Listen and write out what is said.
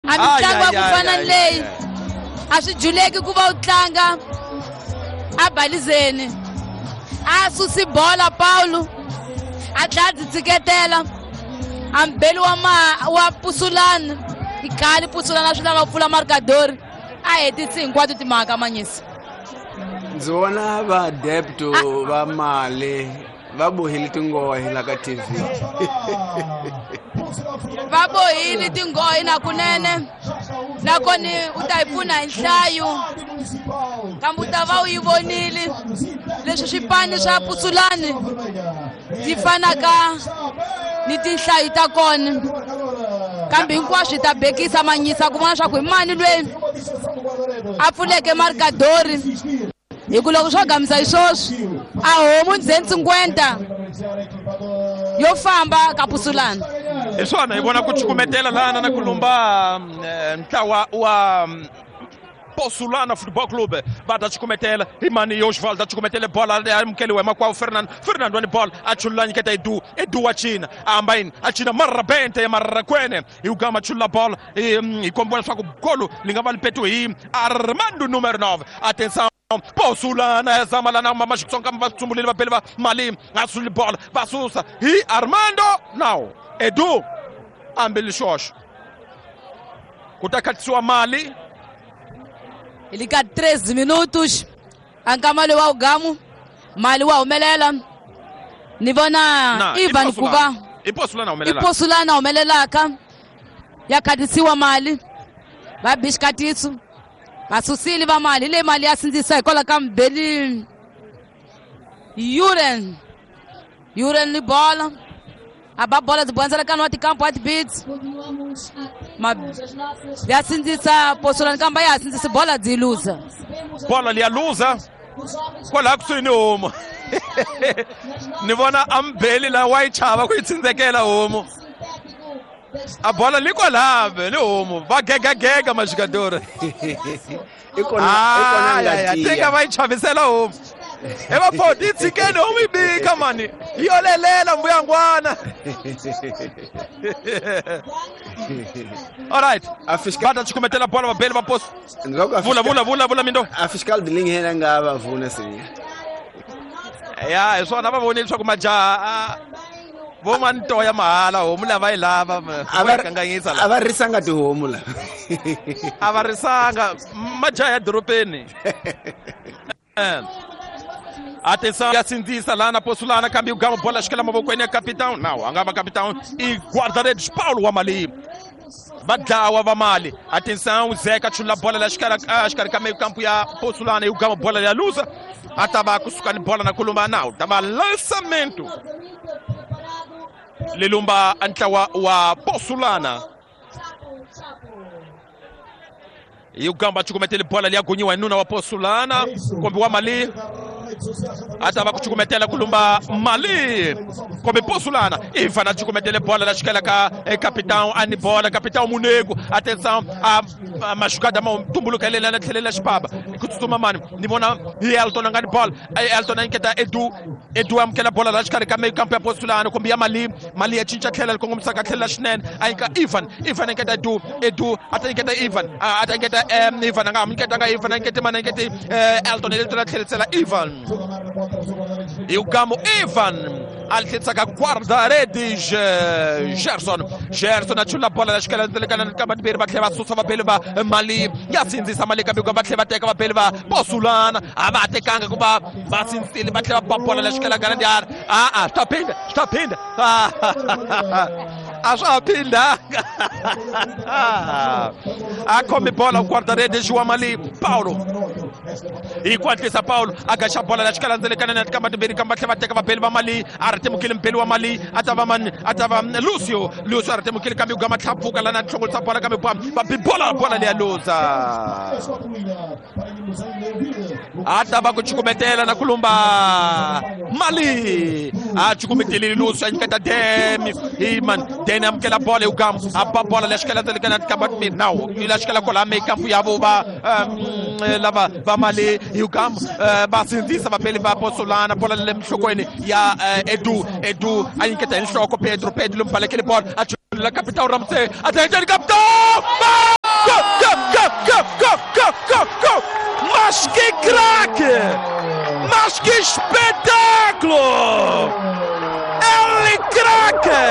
A mitlangu ya ku fana ni leyi a swi juleki ku va u tlanga a balizeni. A susi bola Paulo a tlhela a byi tshiketela a mbeli wa ma wa Pusulani i khale Pusulani a swi lava ku pfula markadori a hetisi hinkwato timhaka manyisi. Ndzi vona vaadepto va mali va bohile tinghohe la ka TV. Va bohile tinghohe nakunene nakoni u ta yi pfuna hi nhlayo kambe u ta va u yi vonile leswi swipani swa Pusulani byi fanaka ni tinhlayo ta kona kambe hinkwaswo hi ta bekisa manyisa ku vona swa ku hi mani lweyi a pfuleke markadori hi ku loko swo gamisa hi swoswi a homu ndzeni 50 yo famba ka Pusulani. Hi swona hi vona ku cukumetela lana na ku lumba ntlawa wa Posulana Football Club va ta cukumetela hi mani Oswald a cukumetele bola a amukeliwa hi makwavo Fernando. Fernando ni bola a chulula nyiketa Edu. Edu wa cina a hamba yini a cina marabente ya marrakwene hi ugama chulula bola hi kombiwa leswaku golo li nga va li petiwe hi Armando numero 9. Atenção Posulana ya zama lana mama Xitsonga va tsumbulile va beli va mali a suli bola va susa hi Armando now Edu ambi lixoxo ku ta khatisiwa mali hi le ka 13 minutos a nkama lowu wa ugamu mali wa humelela ni vona Ivan ku va i Posulana humelela i Posulana humelelaka ya khatisiwa mali va bi xikatiso va susile va mali hi leyi mali ya sindzisa hikwalaho ka mbeli Yuren Yuren ni bola a ba bola byi bondzela ka wa tikampo wa tibits ya sindzisa Posulani kambe ya ha sindzisi bola byi luza bola liya luza kwalaha kusuhi ni homu ni vona ambeli la wa yi chava ku yi tsindzekela homu a bola li kwalaha ni homu va gegagega maxikadori i kona ngati tika va yi chavisela homu e va pho ti tshikeni homu yi bika mani yi yolelela mbuyangwana. All right va ta cukumetela bola vabeli va poso vula vula vula vula mindo a fiscal dealing hena nga va vona se ya hi swona va vonile leswaku majaha vo ma ntoya mahala homu lava yi lava va kanganyisa a va risanga tihomu la a va risanga majaha ya dorobeni. Atenção ya sindzisa lana Posulana kambe ugama bola xikela mavokweni ya capitão now a nga va capitão i guarda-redes Paulo wa mali va dlawa va mali. Atenção Zeka chula bola la xikarhi ka meio campo ya Posulana e ugama bola ya luza a ta va kusuka ni bola na kulumba now ta va lançamento lilumba ntlawa wa Posulana hi ugamba cukumetele bola liya gonyiwa hi nuna wa Posulana kombi wa mali a ta va ku cukumetela ku lumba mali kombe Posulana Ivan a cukumetele bola la xikela ka capitão a ni bola capitão Munego. Atenção a maxukada ma tumbuluka lela tlhelela xipaba ku tsutsuma mani ni vona hi Elton a nga ni bola Elton a nyiketa Edu Edu amukela bola la xikarhi ka meio campo ya Posulana kumbe ya mali mali ya cinca tlhela li kongomisaka tlhela swinene a nyika Ivan Ivan a nyiketa Edu Edu a ta nyiketa Ivan a ta nyiketa Ivan a nga ha nyiketanga Ivan a nyikete mani a nyikete Elton Elton a tlherisela Ivan hi ugamo Ivan a tlherisaka guarda-redes Gerson Gerson a chula bola la xikela ndzilekana ka vambirhi va tlhela va susa vabeli va mali ya sindzisa mali kambe va tlhela va teka vabeli va Posulana a va tekanga ku va va sindzisile va tlhela va bola la xikela kana ndiara a swi ta phinda swi ta phinda a swa ha phindanga a khomi bola guarda-redes wa mali Paulo hi ku hatlisa Paulo a gaxa bola la xikela ndzilekana na tikamba timbirhi kambe va tlhela va teka vabeli va mali a ri temukile mbeli wa mali a ta va mani a ta va Lucio Lucio a ri temukile kambe ugama tlhapfuka lana hlongolisa bola kambe va bi bola bola liya luza a ta va ku cukumetela na ku lumba mali a cukumetelile Lucio a nyiketa Demi hi mani Demi amukela bola hi ugama a ba bola la xikela ndzilekana tikamba timbirhi nawu la xikela kwala mekampu ya vo va lava va mali hi ugama va sindzisa vapeli va Posulana bola le minhlokweni ya Edu Edu a nyiketa hi nhloko Pedro Pedro lomu balekele bola a chulula capitão Ramsey a ta capitão. Mas que espetáculo!